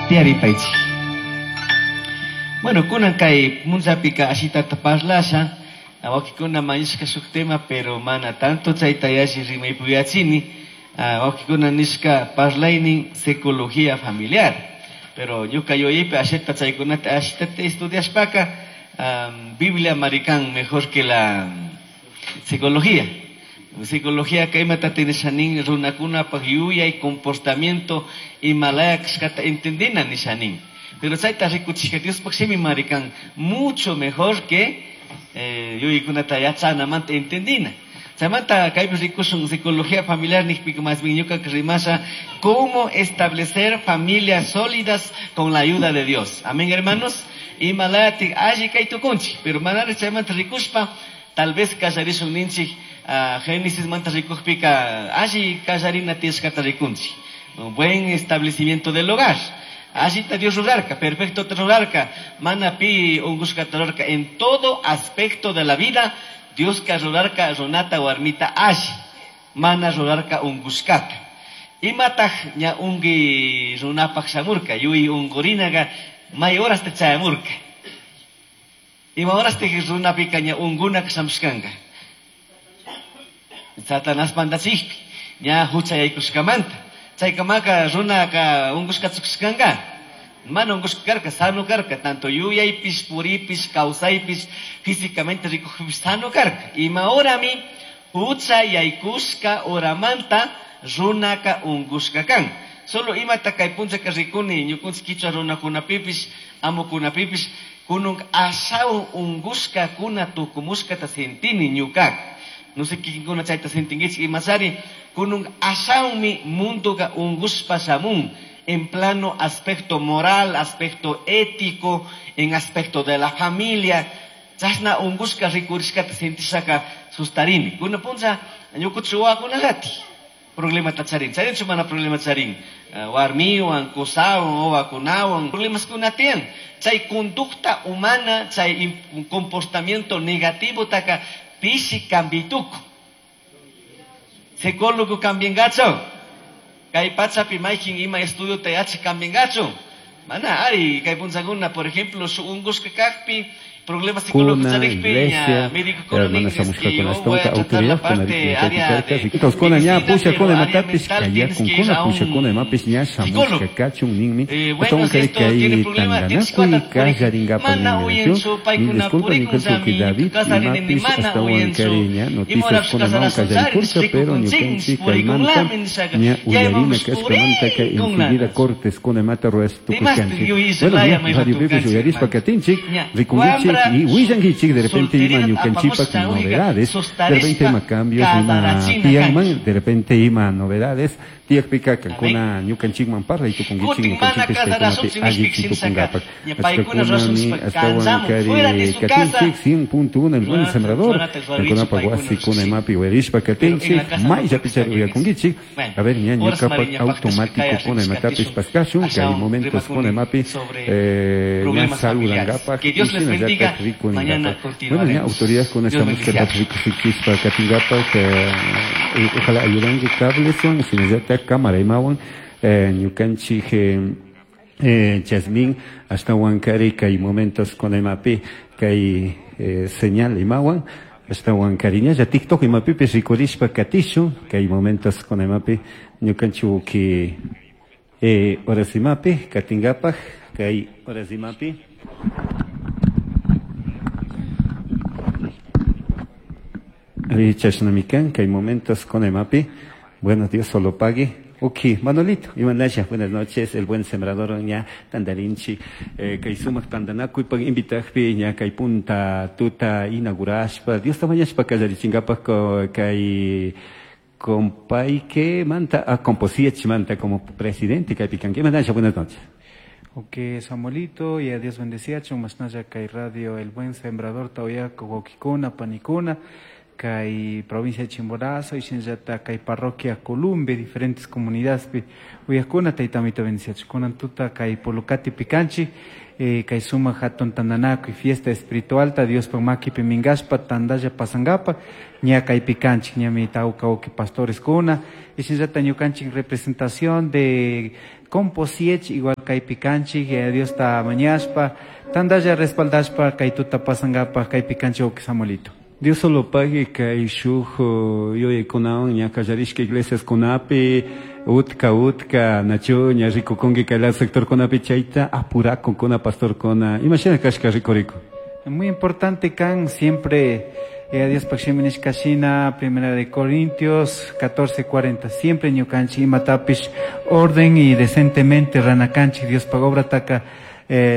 Tiyaripaychik. Bueno, kunan kay punllapika ashitata parlasha, wawqikuna mañashka shuk tema, pero mana tanto chayta yalli rimaypuyachini, wawqikuna nishka parlaynin psicología familiar. Pero ñuka yuyaypi ashita chaykunata ashitata estudiashpaka, Biblia marikan mejor que la psicología. Psicología ka imata nisha nin runakunapaq yuyay comportamiento imalaya kashkata entendina nisha nin. Pero chayta rikuchishka Diospaq shimi marikan mucho mejor que yuyaykunata yachanamanta entendina. Chaymanta kaypi rikushun psicología familiar nijpika más bien ñuka rimasha cómo establecer familias sólidas con la ayuda de Dios. Amén, hermanos. Imalayatik alli kay tukunchik, pero manari chaymanta rikushpa tal vez kallarishun ninchik Génesis manta rikujpika alli kallarina tiyashkata rikunchik. Un buen establecimiento del hogar. Allita Dios rurarka, perfecto te rurarka, mana pi ungushkata rurarka en todo aspecto de la vida. Dios ka rurarka runata warmita alli, mana rurarka ungushkata. Imataj ña ungi runapaj shamurka, yuy ungurinaga may horas te chayamurka. Ima horas te runapika ña ungunak shamushkanga. Satanás pandachikpi, ña hucha yaykushkamanta. Chaykamaka runaka ungushkatsukushkanga. Mana ungushka karka, sano karka, tanto yuyaypis, puripis, kawsaypis, físicamente rikujpis sano karka. Ima horami hucha yaykushka horamanta runaka ungushka kan. Solo imata kay punchaka rikuni, ñukunchik kichwa runakunapipis, amukunapipis, kunun ashawan ungushka kuna tukumushkata sentini ñukaka. No sé kikinkuna chayta sentinkichik imasari, kunun ashawanmi mundoka ungushpa shamun. En plano aspecto moral, aspecto ético, en aspecto de la familia. Chashna ungushka rikurishkata sentishaka sustarini. Kuna puncha ñukuchik wawakunallati problemata charin. Charinchu mana problema charin. Warmiwan, kusawan, wawakunawan, problemas kuna tiyan. Chay conducta humana, chay comportamiento negativo taka pishi cambituku. Psicólogo cambiangacho. Kay pachapi maykin ima estudio te yachi cambiangacho. Mana ari kay punchakuna, por ejemplo, su ungushka kakpi, problemas psicológicos Kuna, charikpi, ña iglesia, médico kuna hermana nin, es Samushka que con yo voy a astonka, tratar la autoridad con parte la área cerca, de riquitos con ña, medicina, pusha pero con área matapis, mental kaya tienes con que ir kuna, a pusha un con mapis, ña psicólogo. Samushka kachun ninmi, Bueno, astawan si kari esto tiene kay problema, tienes que tanganakuy andar por ahí. kallaringapak Mana ninmi uyenchu, mil paykuna disculpas, purikun ñukanchik sami, David, kasarini imapis, mana astawan uyenchu. kari ña Imora noticias con kasara mao sunchari, kallaripurka, pero rikukun chin, ñukanchik purikun kaymanta lamin nishaga. ña Yayman uyarina kashkamanta kay purikun enseguida lamin. cortes con mata ruras Dimashtik tukushkanchik. yuyis Bueno, laya ña may radio Pipis ratukanchik, uyarispa hermano. katinchik, Ña, rikunkichik wambra y willankichik de repente ima solterita ñukanchikpak apamusha ujiga, novedades, de repente sustarishpa ima cambios, ima kasarachina tiyanman, kanki. de repente ima novedades, tiyakpika kankuna Amén. ñukanchikman parlay tukunkichik, Kutin mana ñukanchikpis kaykunapi kasarashunchik allichi nishpik shinaqa, tukunkapak. ña paykuna Achkakunami rasushpa astawan kansamun fuera de kari su casa. katinchik 100.1 el buen sembrador, Runata ruarichu kankunapa paykuna wasikuna rasushpa. imapi uyarishpa Pero en la katinchik, casa no mayllapichari puede estar uyakunkichik. Bueno, A ver, ña horas ñukapak mariña pactas automático kaya kuna imatapis riskatishun, paskashun, kay ashawan momentos kuna rimakuni imapi, sobre ña problemas familiares. saludangapak Que y Dios les shinallatak bendiga. Mañana rikuningapak. Bueno, ña continuaremos. autoridad con Dios esta música bendiga. rikusichishpa katingapak, ojalá ayudanki cablesuan, shinallatak cámara imawan, ñukanchik, Jasmine, astawan kari kay momentos con imapi, kay señal imawan, astawan kariñalla TikTok imapipis rikurishpa katishun, kay momentos con imapi, ñukanchik ki horas imapi, katingapak, kay horas imapi. Chashnamikan, kay momentos con imapi. Bueno, Dios solo pague. Ok, Manolito, Imanaya, buenas noches, el buen sembrador ña tandarinchi, kay sumak tandanakuy pag invitajpi ña kay punta tuta inaugurashpa, Dios tamañashpa kallarichingapaj kay compay que manta, a composiech manta como presidente kay picanque. Imanaya, buenas noches. Ok, Samuelito, y a Dios bendecía, masnaya kay radio, el buen sembrador, tauyaco, wawkikuna, panikuna, kay provincia de Chimborazo y shinallata kay parroquia Columbe diferentes comunidades pi uyakuna tayta amito bendiciachun. Kunan tuta kay Pulucati pikanchik, kay sumak hatun tandanakuy fiesta espiritual ta Diospak makipi minkashpa tandalla pasankapa ña kaypi kanchik, ñami tawka wawki pastores kuna y shinallata ñukanchik representación de Composiech igual kaypi kanchik, Diosta mañashpa tandalla respaldashpa kay tuta pasankapa kaypi kanchik wawki Samuelito. Dios solo pague kay shuk yuyaykunawan ña kallarishka iglesias kunapi utka utka nachu ña rikukunki kay lado sector kunapi chayta apurakunkuna pastorkuna imashina kashka rikurikun. Muy importante kan siempre Dios shimi nishka shina, Primera de Corintios 14:40, siempre ñukanchik imatapish orden y decentemente ranakanchik Dios pa obra taka,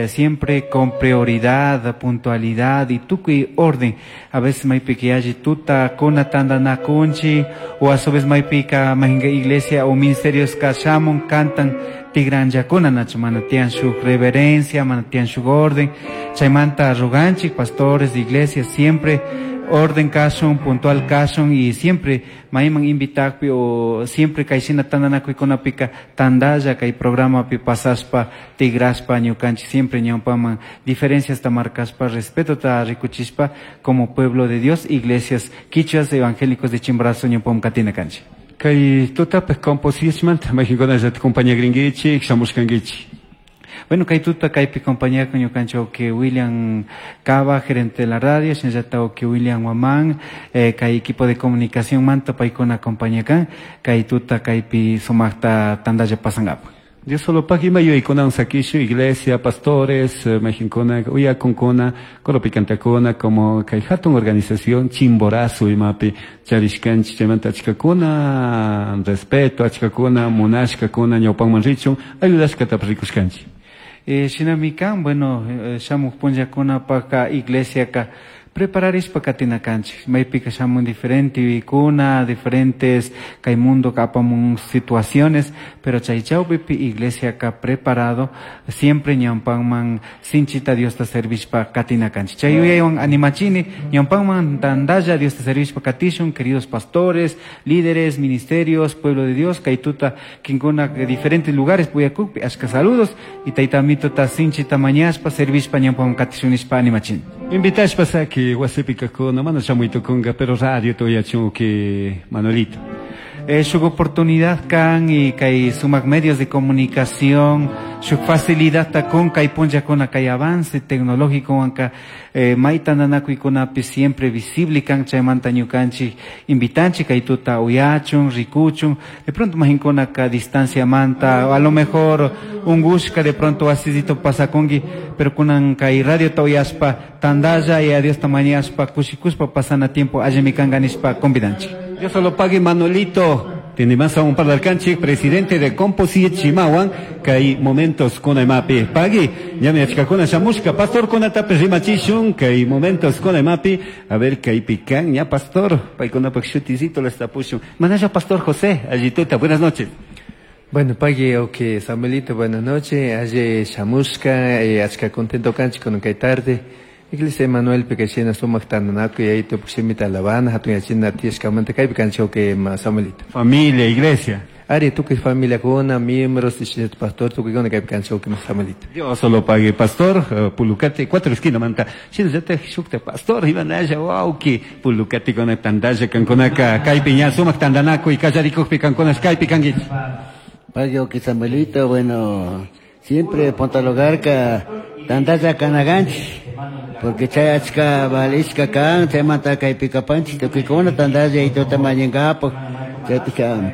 siempre con prioridad, puntualidad y tukuy orden. A veces maypika yalli tuta kuna tandanakunchik o a su vez maypika majinka iglesia o ministerios kashamun cantan tigranllakuna nachu mana tiyan shuk reverencia, mana tiyan shuk orden. Chaymanta ruganchik pastores de iglesia siempre orden kashun, puntual kashun y siempre mayman invitakpi o siempre kayshina tandanakuykunapika tandalla kay programapi pasashpa tigrashpa ñukanchik siempre ñawpaman diferencias ta markashpa respeto ta rikuchishpa como pueblo de Dios, iglesias quichuas evangélicos de Chimborazo ñawpaman katina kanchik. Kay tutapaq composichmanta mayqinkunallata compañagrinkichik shamushkankichik. Bueno, kay tuta kaypi compañía con ñukanchik que William Cava, gerente de la radio, shinallata que William Guamán, kay equipo de comunicación manta paykuna compañía kan, kay tuta kaypi sumakta tandalla pasankapa. Dios solo pag ima yuyaykunawan sakishu iglesia, pastores, mayqinkuna uyakunkuna, coropicantakuna, como kay hatun organización Chimborazo imapi charishkanchik chaymanta achkakuna respeto, achkakuna munashkakuna ñawpanman richun ayudashkatapas rikushkanchik. Shinami kan, bueno, shamuk punllakunapaka iglesiaka prepararishpa katina kanchik, maypika shamun diferente yuyaykuna, diferentes kay mundo apamun situaciones, pero chay chawpipi iglesiaka preparado siempre ñawpanman sinchita Diosta servishpa katina kanchik. Chay yuyaywan animachini ñawpanman tandalla Diosta servishpa katishun, queridos pastores, líderes, ministerios, pueblo de Dios, kay tuta kinkuna diferentes lugares puyakukpi ashka saludos y tayta amito ta sinchita mañashpa servishpa ñawpanman katishun nishpa animachini. Invitashpa saki wasipi kajkuna mana shamuytukunka pero radio tuyachun que Manuelito. Shuk oportunidad kan y kay sumak medios de comunicación, shuk facilidad ta kun kay punllakuna kay avance tecnológico wanka, may tandanakuykunapi siempre visible kan chaymanta ñukanchik invitanchik kay tuta uyachun, rikuchun, de pronto majinkuna ka distancia manta, a lo mejor ungushka de pronto asisito pasakunki, pero kunan kay radio ta uyashpa tandalla y a Dios ta mañashpa kushikuspa pasana tiempo allimi kanka nishpa convidanchik. Dios solo pague Manolito. Tiene más a un par de alcanche, presidente de Composite Chimahuan, que hay momentos con emapi. Pagui, ya me achicacona chamusca, pastor con atape rimachishun, que hay momentos con emapi. A ver, que hay pican, ya pastor, paikona paxuticito la estapushun. Manaya pastor José, allituta, buenas noches. Bueno, pagui, ok, Samuelito, buenas noches. Aye chamusca, achca contento canchi con que tarde. Iglesia Emanuel Pekashina sumak tananaku y ahí te pusimita alabana, hatun yachina tieskamanta kaypi kancho que Samuelito. Familia, iglesia. Ari, tú que familia con miembros, pastor, tú que con kaypi kancho que Samuelito. Dios solo pague, pastor, pulucate, cuatro esquinas manta. Shina yata shukta pastor, iban allá, wow, que pulucate con tandaya kankonaka, kaypi ña sumak tandanaku y kallarikukpi kankonas kaypi kanguich. Pague que Samuelito, bueno, siempre pontalogarca tandaya kanaganchi. Porque chay achka valishka kan, chaymanta kaypi kapanchik, tukuykuna tandalla y tuta mañankapak, chaytika,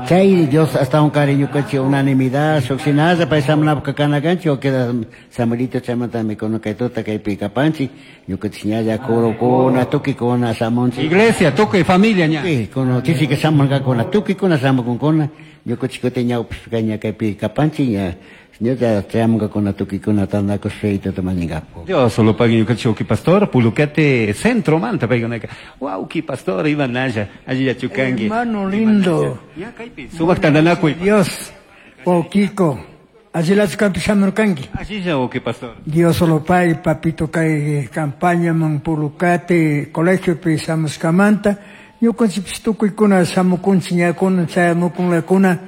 chay Dios hasta un cariño kachi unanimidad, shukshinaza paysamanapaq kanakanchik, o queda Samuelito chaymanta mikuna kay tuta kaypi kapanchik, ñukanchik ñalla kurukuna, tukuykuna shamunchik. Iglesia, tukuy familia ña. Sí, kuna chisika shamunkakuna, tukuykuna shamukunkuna, ñukanchik kutin ñawpishpa ña kaypi kapanchik, ña Ñuka chayamunkakuna tukuykuna tandanakushpa y tuta mañankapak. Dios solo pague ñukanchik wawki pastor, Pulucate centro manta paykunaka. Wawki pastor iban allá, allí yachukanki. Hermano lindo. Ya kaypi sumak tandanakuy. Dios, wawkiko. Azilachu kanpi shamurkanki. Allilla wawqi pastor. Dios solo pay papito kay campañaman Pulucate colegiopi shamushkamanta ñukanchikpish tukuykuna shamukunchik ñakuna chayamukunlakuna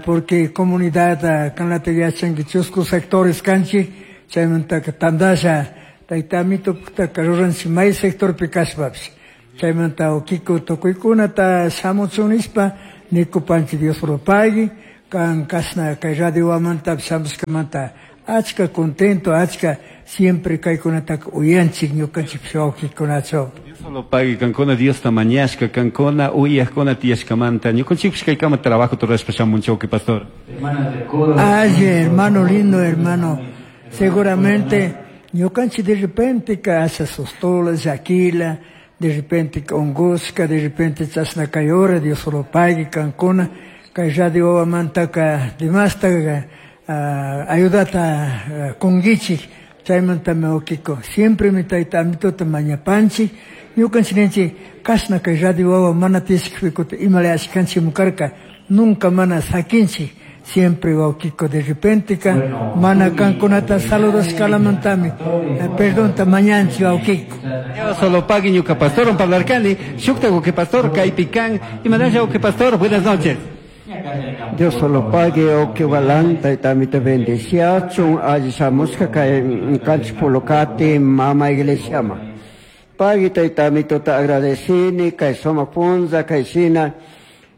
porque comunidad kanlata yachanki chusku sectores kanchik chaymantaka tandasha tayta Amitopaqtaka ruranchik may sectorpi kashpapish chaymanta wawkiko tukuykunata shamuchun nishpa nikupanchik Dios solo pagui kan kashna kay radio wamantapish shamushkamanta achka contento achka siempre kaykunataka uyanchik ñukanchikpish wawkikunachu. Dios solo pagui kankuna Diosta mañashka kankuna uyajkuna tiyashkamanta ñukanchikpish kaykama trabajo rurashpa shamunchik wawqi pastor. Ay, hermano lindo, hermano, seguramente ñukanchik de repente ka asha sustola, llakila, de repente ungushka, de repente chashna kay hora, Dios solo pagui kankuna kay radio wawamantaka dimastaka ayudata kunkichik chaymantami wawkiko siempre mi tayta Amitota mañapanchik ñukanchik ninchik kashna kay radio wawa mana tiyashkakpi kutin imala ashkanchikmi karka nunca mana sakinchik siempre wawkiko de repente ka mana kankunata saludashkalamantami perdonta mañanchik wawkiko. Dios solo pagui ñuka pastor parlarkani shukta wawqi pastor kaypi kan imanasha wawqi pastor buenas noches. Dios solo pague o que balanta y también te bendeciachun allí shamushka kay kanchik Pulucate mama iglesia ma. Pague tayta Amitota agradecini kay sumak punlla kay shina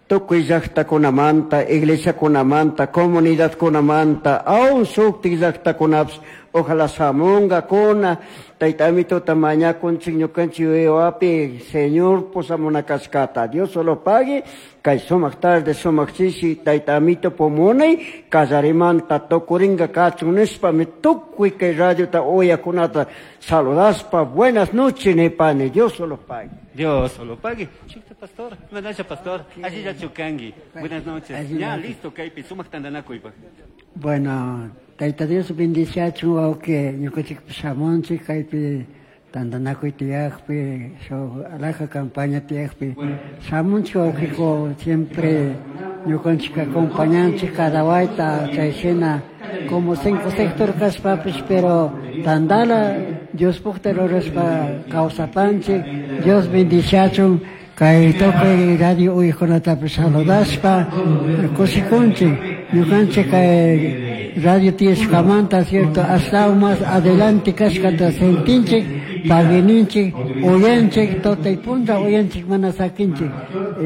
tukuy llaqtakunamanta iglesiakunamanta comunidadkunamanta aun shuktik llaqtakunapish ojalá shamunkakuna tayta Amitota mañakunchik ñukanchik wiwapi Señor pusamuna kashkata. Dios solo pague kay sumak tarde sumak chishi tayta Amito pumunay kallarimanta tukurinka kachun nishpami tukuy kay radiota uyakunata saludashpa buenas noches nipani. Dios solo pague. Dios solo pague. Shukta pastor, imanasha pastor, allilla chukanki. Buenas noches. Ya listo kaypi sumak tantanakuypaq. Bueno, tayta Dios bendiciachun wawqi ñukanchikpish shamunchik kaypi tantanakuy tiyakpi shuk alhaja campaña tiyakpi shamunchik wawqiko siempre ñukanchik acompañanchik cada wayta chay shina como 5 sector kashpapish pero tandala Diospukta rurashpa kawsapanchik. Dios bendiciachun kay tukuy radio uyajkunatapish saludashpa kushikunchik ñukanchik kay radio tiyashkamanta cierto hasta más adelante kashkata sentinchik paguininchik uyanchik tutay punlla uyanchik mana sakinchik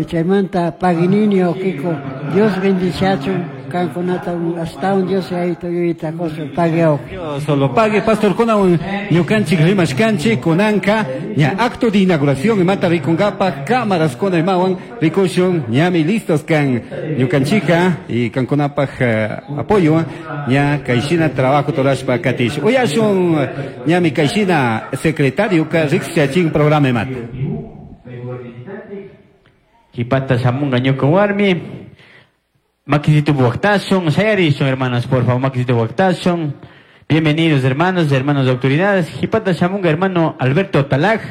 chaymanta paguinini wawkiko Dios bendiciachun kankunata astawan Dios yayito yuyayta qushun pagui wawqi. Dios solo pague pastor kunawan ñukanchik rimashkanchik kunanka ña acto de inauguración imata rikunkapaq cámaras kuna imawan rikushun ñami listos kan ñukanchika y kankunapaq apoyo ña kayshina trabajo torashpa katish uyashun ñami kayshina secretario ka riqsichachin programa imata. Chipata shamunga ñuka warmi Maquisito Buactason, Sayarison, hermanos, por favor, Maquisito Buactason. Bienvenidos, hermanos, hermanos de autoridades. Jipata Shamunga, hermano Alberto Talaj.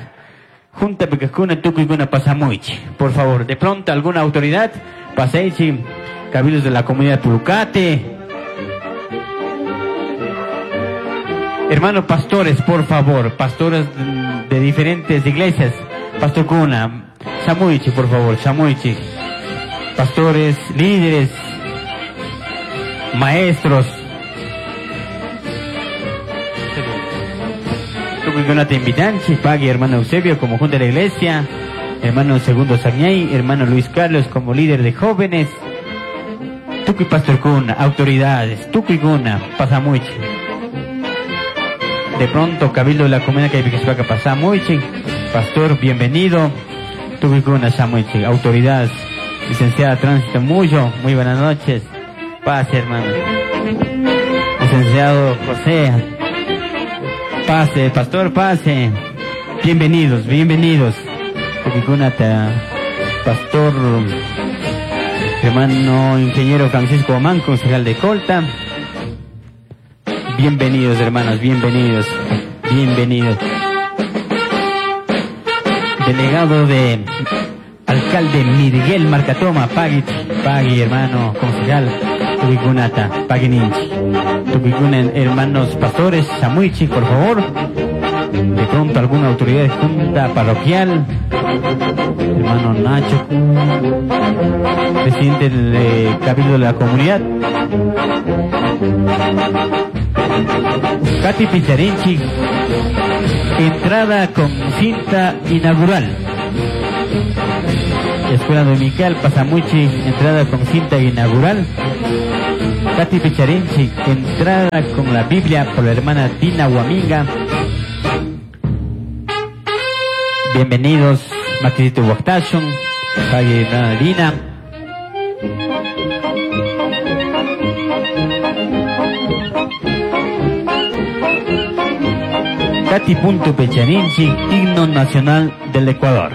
Junta Pecacuna, Tucuicuna, Pasamuich. Por favor, de pronto, alguna autoridad, Paseichi, cabildos de la comunidad Pulucate. Hermanos pastores, por favor, pastores de diferentes iglesias. Pastor Cuna, Samuichi, por favor, Samuichi. Pastores, líderes, maestros. Te invitanchi, pague hermano Eusebio como junta de la iglesia, hermano Segundo Sañay, hermano Luis Carlos como líder de jóvenes, Tucuy Pastor Cuna, autoridades, Tucuy Cuna, Pasamuichi. De pronto, Cabildo de la Comunidad Caipicaspaca, Pasamuichi, pastor, bienvenido, Tucuy Cuna, Samuichi, autoridades. Licenciada Tránsito Muyo, muy buenas noches. Pase, hermano. Licenciado José, pase, pastor, pase. Bienvenidos, bienvenidos. Pastor, hermano ingeniero Francisco Omán, concejal de Colta. Bienvenidos, hermanos, bienvenidos, bienvenidos. Delegado de alcalde Miguel Marcatoma, pagui, pagui, hermano, concejal. Tukuikunata pagininchi. Tukuikuna hermanos pastores, shamuichi, por favor. De pronto alguna autoridad de junta parroquial, hermano Nacho, presidente del cabildo de la comunidad. Katy Picharinchi, entrada con cinta inaugural. Escuela Dominical Pasamuchi, entrada con cinta inaugural. Katy Picharinchi, entrada con la Biblia por la hermana Dina Huaminga. Bienvenidos, Maxito Huactashon, hermana Dina. Katy Punto Pecharinchi, himno nacional del Ecuador.